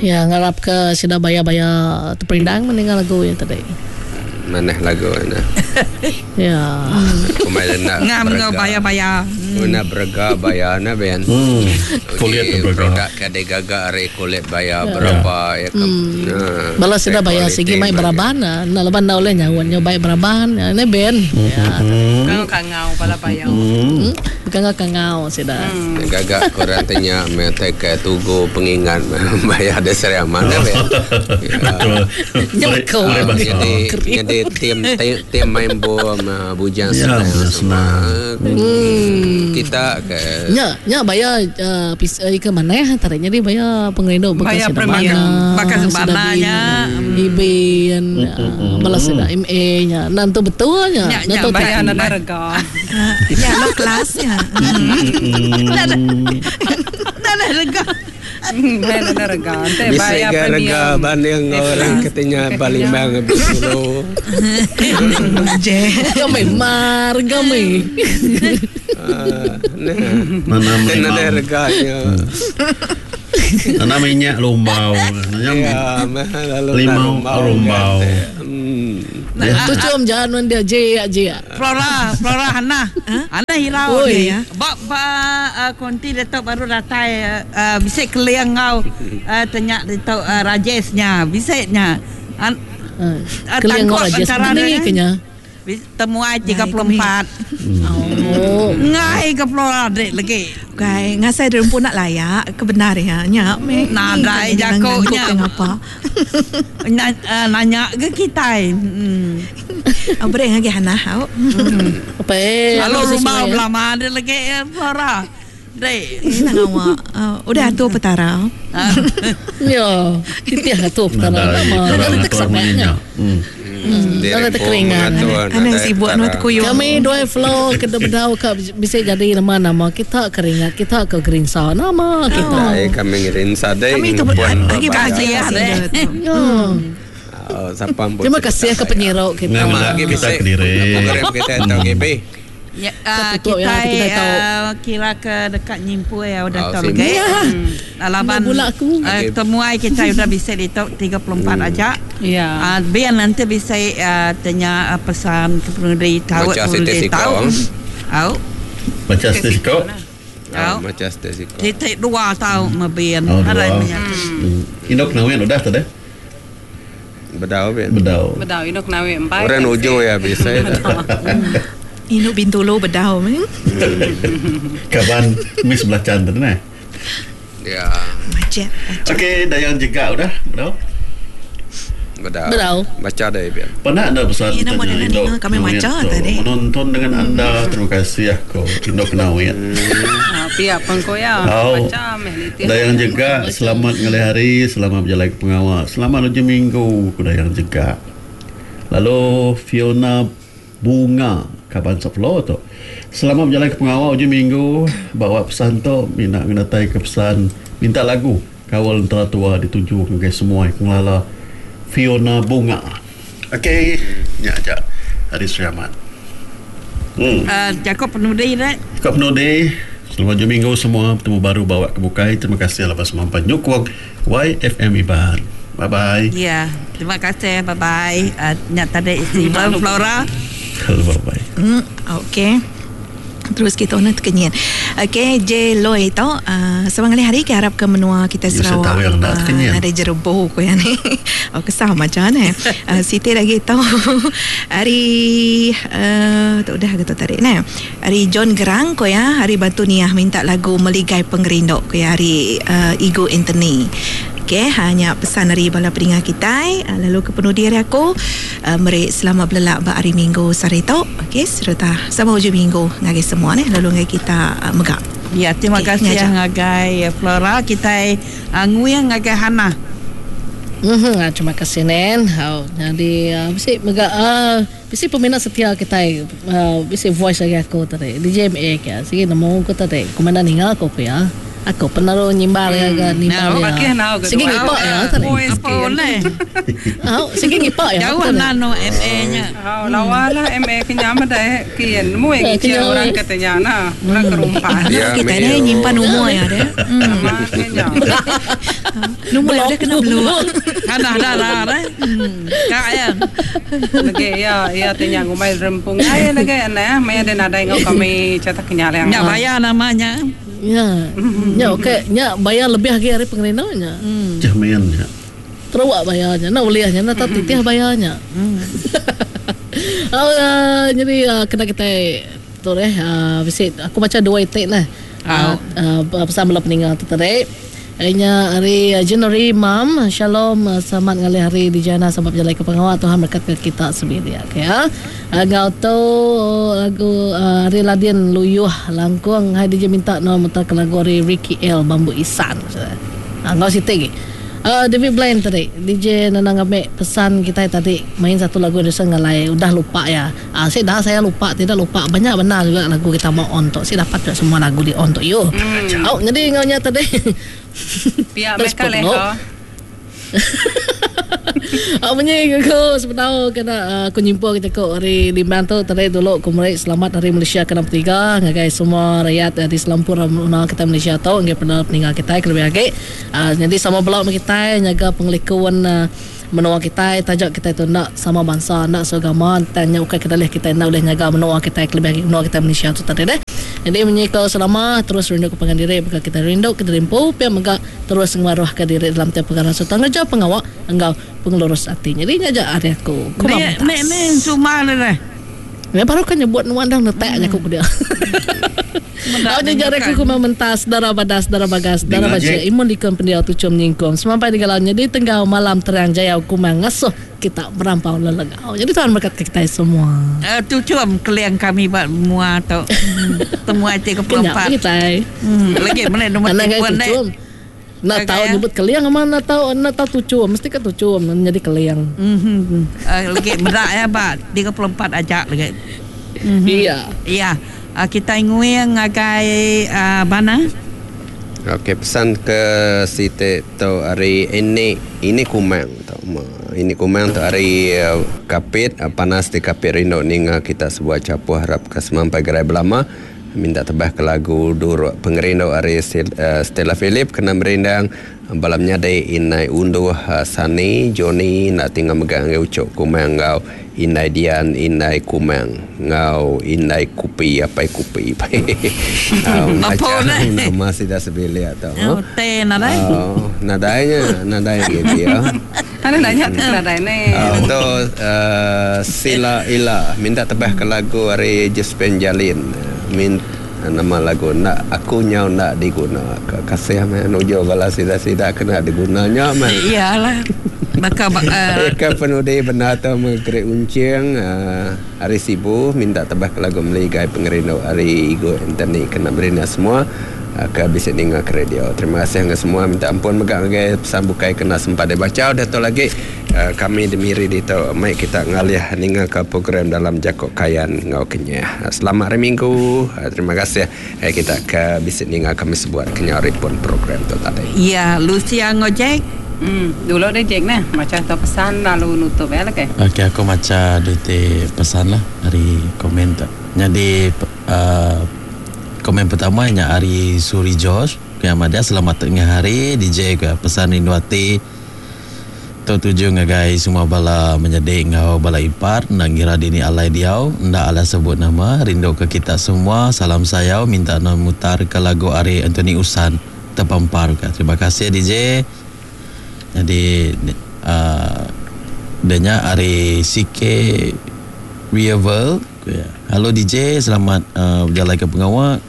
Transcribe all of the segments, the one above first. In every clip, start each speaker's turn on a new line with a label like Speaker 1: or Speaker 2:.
Speaker 1: Ya ngarap ke sida baya-baya teperindang mendinga lagu iya tadi.
Speaker 2: Manah lagu nya.
Speaker 1: Ya.
Speaker 2: Kumbai enda
Speaker 3: Ngam enggau baya-baya.
Speaker 2: Enda berega baya nya ben.
Speaker 4: Hmm. Kulit
Speaker 2: Uji
Speaker 4: berega.
Speaker 2: produk ke digaga ari kulit baya berapa ya ke.
Speaker 1: Hmm. Bala sida baya sigi mai beraban enda laban enda ulih nyaut nya bai beraban nya ben. Ya.
Speaker 5: Kangau-kangau bala baya.
Speaker 1: Hmm. Bekangau-kangau sida.
Speaker 2: Gaga ke orang ti nya meh tai ke tugu pengingat baya di Sri Aman nya meh.
Speaker 4: Betul.
Speaker 1: Nya meko.
Speaker 2: Nyadi nyadi tim tim main bom bujang
Speaker 4: Ya,
Speaker 2: senang
Speaker 4: bujang
Speaker 2: semua.
Speaker 4: senang.
Speaker 2: Kita ke
Speaker 1: Nya nya baya ika manah tadi nyadi baya pengerindu baka
Speaker 5: Baya
Speaker 1: sida
Speaker 5: premium.
Speaker 1: Bana,
Speaker 3: Baka
Speaker 1: sida
Speaker 3: sebana
Speaker 1: Bin,
Speaker 3: nya.
Speaker 1: Ibin, bala sida MA nya. Nentu betul nya.
Speaker 3: Nya nya
Speaker 1: Nentu
Speaker 5: Baya
Speaker 1: ti.
Speaker 5: nadai rega.
Speaker 6: Nya low class nya.
Speaker 3: Nadai rega.
Speaker 5: Baya nadai rega. Enti
Speaker 2: Bisi
Speaker 5: baya
Speaker 2: ga rega
Speaker 5: premium.
Speaker 2: banding enggau orang ke ti nya ba Limbang lebih dulu.
Speaker 6: Je.
Speaker 1: Ga meh mar ga meh.
Speaker 2: Nah.
Speaker 4: Nanam
Speaker 2: Ti nadai
Speaker 4: limau.
Speaker 2: rega nya.
Speaker 4: Nanam minyak lumbau. Nanam
Speaker 2: Ya, meh lalu
Speaker 4: limau rumbau.
Speaker 2: Hmm.
Speaker 1: Tuchum ja nuan dia jia jia.
Speaker 3: Flora, Flora Hana. Hana hirau.
Speaker 1: Oi.
Speaker 6: Ya.
Speaker 3: Ba ba konti ditu baru datai uh, bisi keling enggau uh, tenya ditu uh, Rajesh nya. Bisi nya. An, uh,
Speaker 1: Keling enggau
Speaker 3: tangkup
Speaker 1: Rajesh
Speaker 3: antara
Speaker 1: ni
Speaker 3: dia.
Speaker 1: ke nya.
Speaker 3: Temuai 34.
Speaker 1: Oh.
Speaker 3: Ngai ke Flora dik lagi.
Speaker 6: Bukai ngasai diri empu nak layak ke bendar iya nya meh.
Speaker 3: Nadai jaku nya.
Speaker 6: Ngapa.
Speaker 3: Na, uh, nanya ke kitai. Hmm.
Speaker 6: Oh, beri lagi Hana au.
Speaker 1: Apa eh
Speaker 3: Lalu
Speaker 1: anu
Speaker 3: rumah
Speaker 1: sesuai, eh.
Speaker 3: belama dia lagi eh, Flora. Dek.
Speaker 6: Eh nak awak. Udah atur petara.
Speaker 1: Ya, titih atur petara
Speaker 4: Nadai
Speaker 1: nama.
Speaker 4: cara
Speaker 1: Nadai
Speaker 4: ngatur
Speaker 1: terkesamanya.
Speaker 4: munyi nya. Hmm.
Speaker 1: Nadai terkeringan.
Speaker 6: Anang sibuk anu tekuyung.
Speaker 1: Kami dua flow ke bedau ka bisa jadi nama-nama kita keringat kita ke gerinsa nama kita.
Speaker 2: Dai kami ngerinsa dai.
Speaker 6: Kami tu lagi bahagia
Speaker 3: Kasih,
Speaker 6: sida tu.
Speaker 1: Ya.
Speaker 2: Oh, siapa pun
Speaker 1: Terima kasih ke penyirau kita.
Speaker 4: Ngam
Speaker 2: Lagi
Speaker 4: kita
Speaker 2: bisa
Speaker 4: kediri.
Speaker 2: Program kita tahu GB.
Speaker 3: Ya, uh,
Speaker 1: Kita tutup
Speaker 3: kita,
Speaker 1: ya, kita tahu.
Speaker 3: uh, kira ke dekat nyimpu ya udah
Speaker 2: Oh,
Speaker 3: tahu
Speaker 2: simpu.
Speaker 3: lagi. Hmm. Laban
Speaker 1: Nak bulak aku.
Speaker 3: uh, temuai kita udah bisa di 34 aja.
Speaker 5: Ya.
Speaker 3: Uh, biar nanti bisa uh, tanya uh, pesan ke pengundi tahu
Speaker 2: Baca
Speaker 3: pengundi
Speaker 2: statistik
Speaker 3: tahu.
Speaker 2: kau.
Speaker 3: Au.
Speaker 4: Baca statistik.
Speaker 3: Au.
Speaker 2: Macam statistik.
Speaker 3: Titik dua tahu mebin.
Speaker 4: Oh,
Speaker 3: Ada
Speaker 4: dua.
Speaker 3: minyak.
Speaker 4: Hmm. Indok nawin udah tadi.
Speaker 2: Bedau ben.
Speaker 4: Bedau.
Speaker 5: Bedau indok nawe empai.
Speaker 2: Orang ujung ya bisa.
Speaker 6: Inuk Bintulu bedau meh.
Speaker 4: Kaban Miss Belacan tadi nah.
Speaker 2: Ya.
Speaker 6: Macet.
Speaker 4: Okey, dayang jegak udah, bedau.
Speaker 2: Bedau.
Speaker 1: Bedau.
Speaker 2: Baca deh ben.
Speaker 4: Pernah anda pesan
Speaker 6: Eh, nama
Speaker 4: tanya
Speaker 6: dia
Speaker 4: Indok
Speaker 6: ninga kami
Speaker 4: Kenawit
Speaker 6: baca
Speaker 4: tu?
Speaker 6: tadi.
Speaker 4: Menonton dengan anda, terima kasih aku Indok Kenawit.
Speaker 5: Ah, pia pengko ya.
Speaker 4: Oh.
Speaker 5: Baca meh nitih.
Speaker 4: Dayang jegak, selamat ngalih hari, selamat berjalan ke pengawal, selamat hujung minggu ku Dayang jegak. Lalu Fiona Bunga kaban Seplo tu. Selamat berjalan ke pengawal hujung minggu, bawa pesan tu minta ngenatai ke pesan minta lagu kawal entara tua dituju ngagai semua yang ngelala Fiona Bunga. Okey, nya aja. Hari Sri Aman. Hmm.
Speaker 3: Uh, Jakob penudi dek.
Speaker 4: Kau penudi Selamat hujung minggu semua Bertemu baru bawa ke bukai Terima kasih lepas mampan nyukung YFM Iban Bye bye
Speaker 3: Ya, terima kasih. Bye bye. Uh, nyak tadi istimewa Flora.
Speaker 4: Bye bye
Speaker 6: Okey. Terus kita nak terkenyit. Okey, J Loy tu uh, sebang kali hari ke harap ke menua kita
Speaker 4: Ya, saya
Speaker 6: Sarawak.
Speaker 4: tahu yang nak
Speaker 6: Ah,
Speaker 4: terkenyit.
Speaker 6: Ada jerebu ko yang ni. Oh, kesah macam ni. Uh, Siti lagi tu hari uh, tu dah ke tu tarik ni. Hari John Gerang ko ya, hari Batu Niah minta lagu Meligai Pengerindu ko ya hari uh, Igo Anthony. Okey, hanya pesan dari bala pendengar kita. Ah, Lalu ke penudi hari aku uh, meri selamat belelak ba hari Minggu sehari tu. Okey, serta sama hujung minggu ngagai semua ni lalu ngagai kita uh, megak.
Speaker 3: Ya, terima
Speaker 6: Okey,
Speaker 3: kasih
Speaker 6: ngajak.
Speaker 3: ngagai Flora kita uh, nguyang ngagai Hana.
Speaker 1: Mhm, terima kasih Nen. Oh, jadi uh, bisi mega uh, bisi peminat setia kita uh, bisi voice lagi aku tadi. DJ MA ke. Sigi nemu aku tadi. Komandan ninga aku ku ya. Aku penaruh nyimbar ya ke nimbar
Speaker 5: Nah,
Speaker 1: ya.
Speaker 5: okey, nah, ke
Speaker 1: Sigi
Speaker 5: dua.
Speaker 1: ngipak ya tadi.
Speaker 5: Voice
Speaker 3: Apa boleh?
Speaker 1: Oh, sigi ngipak ya.
Speaker 3: Jauh
Speaker 1: tadi.
Speaker 3: nano MA nya.
Speaker 5: Oh, lawa lah MA kenyama dah kian. Mu
Speaker 1: Eh,
Speaker 5: yang kecil
Speaker 1: kenyam.
Speaker 5: orang katanya nah, orang kerumpan.
Speaker 2: Ya,
Speaker 6: kita
Speaker 2: Mio.
Speaker 6: ni nyimpan umur ya dia.
Speaker 5: Sama kenyam.
Speaker 6: Nombor udah kena beluk.
Speaker 3: Tanah darah eh. Kak ya.
Speaker 5: Lagi ya ya tanya ngumbai rempung ai lagi nah maya dia nadai ngau kami cetak kenyalang.
Speaker 3: Nya bayar namanya.
Speaker 1: Ya. Nya okey, nya bayar lebih lagi hari pengerindunya.
Speaker 4: Cermin ya.
Speaker 1: Teruak bayarnya. Nak bolehnya, nak tak titih bayarnya. Oh, jadi kena kita tu eh visit aku baca dua itik lah. Pesan bala peninggal tu tadi. Harinya hari January Mam Shalom selamat ngalih hari di jana selamat berjalan ke pengawal Tuhan berkat ke kita sebilik okey ya. Ngau tu lagu hari Ladin Luyuh Langkung hai DJ minta no mutar ke lagu hari Ricky L Bambu Isan. Ngau siti lagi. David Blaine tadi DJ Nanang ambil pesan kita tadi main satu lagu Anderson ngalai udah lupa ya. Saya dah saya lupa tidak lupa banyak benar juga lagu kita mau on tok. Saya dapat juga semua lagu di on tok yo. Oh jadi ngaunya tadi.
Speaker 5: Pihak mereka leh.
Speaker 1: Oh bunyi aku sebenarnya kena aku nyimpul kita ko hari Limbang tu tadi dulu aku meri selamat hari Malaysia ke-63 ngagai semua rakyat di selampur menua kita Malaysia tu ngai pernah peninggal kita kelebih lagi. Jadi sama belak kita nyaga pengelikun menua kita tajak kita tu nak sama bangsa nak seagama tanya ukai kita leh kita nak boleh nyaga menua kita kelebih lagi menua kita Malaysia tu tadi deh. Jadi menyikau selama terus rindu kepangan diri maka kita rindu kita rimpu pia mega terus ngaruh ke diri dalam tiap perkara serta ngeja pengawak enggau pengelurus hati. Jadi ngajak hari aku.
Speaker 3: Ne ne ne cuma le.
Speaker 1: Ne baru kan nyebut nuan dah netek aku ke dia. Aku ni jari aku kuma mentas darah badas darah bagas darah baca imun dikon pendiau tucum nyingkum sampai di galaunya di tengah malam terang jaya kuma ngasuh kita merampau lelengau. Jadi Tuhan berkat kita semua.
Speaker 3: Tucum keliang kami buat mua tu. Semua 34.
Speaker 1: Kita.
Speaker 3: Lagi mana nombor telefon ni?
Speaker 1: Nak tahu nyebut keliang ama nak tahu tucum mesti ke tucum jadi keliang.
Speaker 3: Lagi berak ya pak 34 ajak lagi.
Speaker 1: Iya.
Speaker 3: Iya. Kita nguing ngagai bana.
Speaker 2: Okey pesan ke site tu hari ini kumang tu. Ini kumang tu hari kapit panas di kapit rindu ninga kita sebuah capuh harap ke semampai gerai belama. Minta tebah ke lagu Duruk Pengerindu hari Stella Philip kena merindang balamnya dai inai unduh Sani Johnny nak tinggal megang ucok kumang ngau inai Dian inai kumang ngau inai kupi apai kupi
Speaker 3: macam
Speaker 2: nama sida sebilik atau
Speaker 3: teh nadai
Speaker 2: nadainya nadai gitu ya.
Speaker 5: Ada nanya nadai ni.
Speaker 2: Tu Sila Ila minta tebah ke lagu hari Jespen Jalin. Min nama lagu nak aku nyau nak diguna. Kasih man ujo bala sida-sida kena digunanya man.
Speaker 3: Iyalah. Maka
Speaker 2: ke penudi benar tu menggerik uncing hari Sibu minta tebah ke lagu Meligai Pengerindu hari Igo Anthony kena berina semua ke bisik ninga ke radio. Terima kasih dengan semua minta ampun megang ke pesan bukai kena sempat dibaca dah tu lagi kami demiri di tu mai kita ngalih ninga ke program dalam Jakok Kayan ngau kenyah. Selamat hari Minggu. Terima kasih kita ke bisik ninga kami sebuat kenyah repon program tu tadi.
Speaker 3: Ya, Lucia ngojek.
Speaker 5: Dulu dia jek nah macam tu pesan lalu nutup ya lah ke.
Speaker 7: Okey aku baca duit pesan lah dari komen tu. Jadi komen pertama nya Ari Suri George yang ada selamat tengah hari DJ ke pesan rindu hati tu tuju ngagai semua bala menjadi ngau bala ipar nak ngira dini alai diau ndak ala sebut nama rindu ke kita semua salam sayau minta non mutar ke lagu Ari Anthony Usan terpampar ke. Terima kasih DJ. Jadi denya Ari CK Riavel. Halo DJ, selamat berjalan ke pengawak.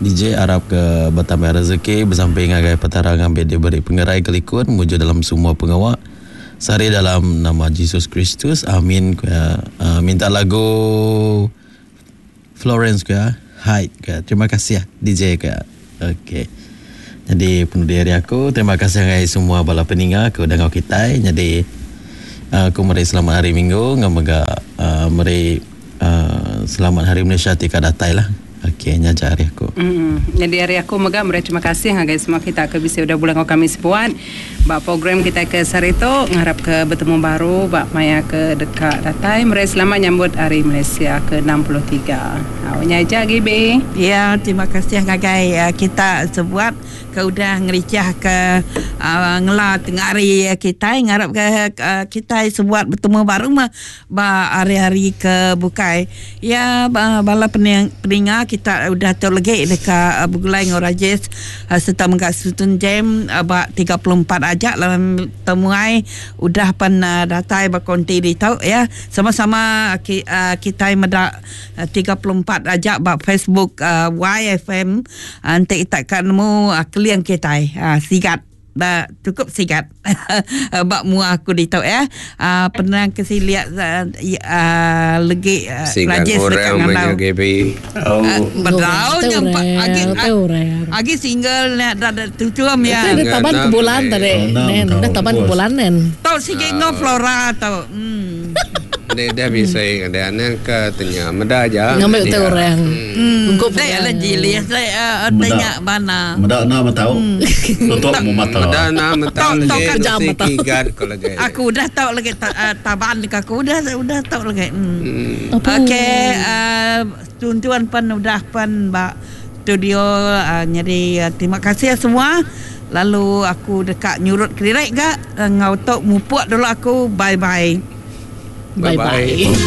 Speaker 7: DJ harap ke bertambah rezeki bersamping ngagai petara ngambil diberi pengerai kelikun muju dalam semua pengawak. Sari dalam nama Jesus Kristus. Amin. Minta lagu Florence ke Hyde ke. Terima kasih ya DJ ke. Okey. Jadi penuh dari aku, terima kasih ngai semua bala peninga ke dangau kita. Jadi aku meri selamat hari Minggu, ngamega meri selamat hari Malaysia tika datai lah. Okey, nyaja hari aku.
Speaker 5: Nyadi ari aku mega meri terima kasih ngagai semua kita ke bisi udah bula enggau kami sebuat ba program kitai ke sehari tu ngarap ke betemu baru ba maya ke deka datai meri selamat nyambut Hari Malaysia ke 63. Au nya aja Gibi.
Speaker 3: Ya terima kasih ngagai kita sebuat ke udah ngerichah ke ngela tengah hari kitai ngarap ke kitai sebuat betemu baru meh Ba hari-hari ke bukai, iya bala peninga kita udah tu legi deka begulai enggau Rajesh sereta mega Sultan Jam ba 34 aja laban temuai udah pen datai ba konti ditu iya. Sama-sama kitai meda 34 aja ba Facebook YFM enti kita ka nemu keling kitai sigat. Ba cukup sigat ba mua aku ditu ya. Uh, penerang ke silik uh, uh, legi uh,
Speaker 2: Rajesh dekat
Speaker 3: ngandau. Oh. Uh, bedau nya agi agi single nya dah tucum ya.
Speaker 1: Dah taban ke bulan tadi. Nen, dah taban ke bulan nen.
Speaker 3: Tau sige ngau Flora tau. Hmm.
Speaker 2: Dek dah bisa dek anang ke tanya meda aja.
Speaker 1: Ngambil tu orang.
Speaker 3: Ungkup dek ala jilih dek tanya bana.
Speaker 4: Meda na matau. Tutup mu mata.
Speaker 2: Meda na matau lagi nusi kigat ko lagi.
Speaker 3: Aku udah tau lagi taban ke aku udah udah tau lagi. Okey tuan-tuan pen udah pen ba studio nyadi terima kasih semua lalu aku deka nyurut kediri ga enggau tu mupuk dulu aku bye bye.
Speaker 1: Bye bye.